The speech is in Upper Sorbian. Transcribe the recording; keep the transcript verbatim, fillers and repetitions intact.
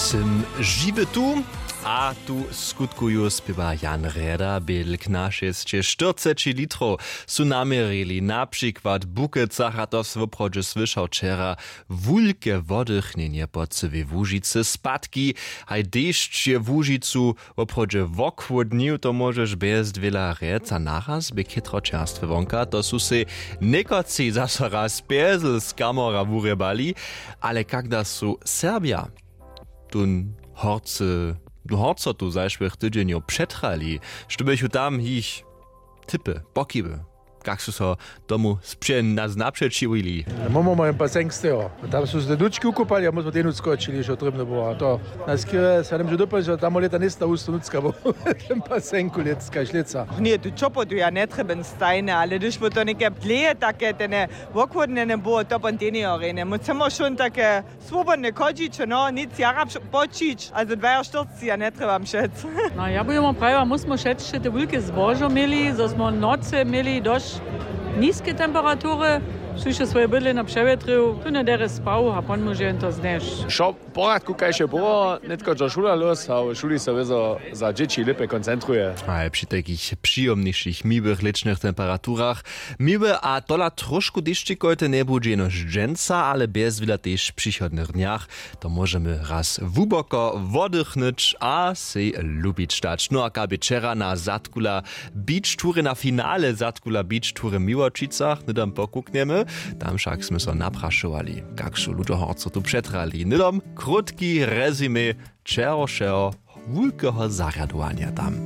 Sym žiwy tu. A tu skutkuju spěwa Jan Rjeda. Bědl knasćesće štyrceći litrow su naměrili na přikład w Bukecach, a to so woprawdźe słyšał wčera. Wulke wodychnjenje po cyłej Łužicy, spadki, haj dešć je Łužicu woprawdźe wochłódnił. To móžeš bjez dwěla rjec a naraz bě chětro čerstwe wonka. To su sej někotři zaso raz pjezl z kamora wurjebali. Ale kak da su Serbja tón horcy horcotu zašłych tydźenjow přetrali, što běchu tam jich typy, pokiby, kak su so tomu spře-, na-, napřećiwili? Mómo mojem pasenk steho. Tam su se dučki wukupali a my smo tej nutř skočili, što trěbne było. A to na skerje se nam dopomnić, tam lěta njejsta husto nutřka, bo w tym pasenku lětska šleca. Ně, tu čopotu ja njetrjebam stajne, ale hdyž by to něke dlěje take tene wochłódnjene było, to pon tej njejo rjenje. My chcemy wšón take swobodne chodźiće, no, nic jara pš-, počić, a za dwajaštyrceći ja njetrjebam šec. No, ja bych wam prajiła, my smo šećće te wulke zbožo měli, zo smo w nocy měli dość niske temperatury, su hišće swoje bydlenje přewjetrił, tu njedere spał a pon móže jen to znješ. Wšo w poradku, kaž je było, nětko dźo šula los a w šuli so wězo za dźěći lěpje koncentruje. A při takich přijomnišich miłych lěćnych temperaturach miły a tola trošku dešćikojte njebudźe jenož dźensa, ale bjez wila tež w přichodnych dnjach. To móžemy raz hłuboko wodychnyć a sej lubić dać. No a kabě wčera na zadkula beach toure, na finale zadkula beach toure w Miłočicach, hnydom pokuknjemy. Tam wšak smy so naprašowali, kak su ludźo horcotu přetrali. Hnydom krótki rezime wčerawšeho wulkeho zarjadowanja tam.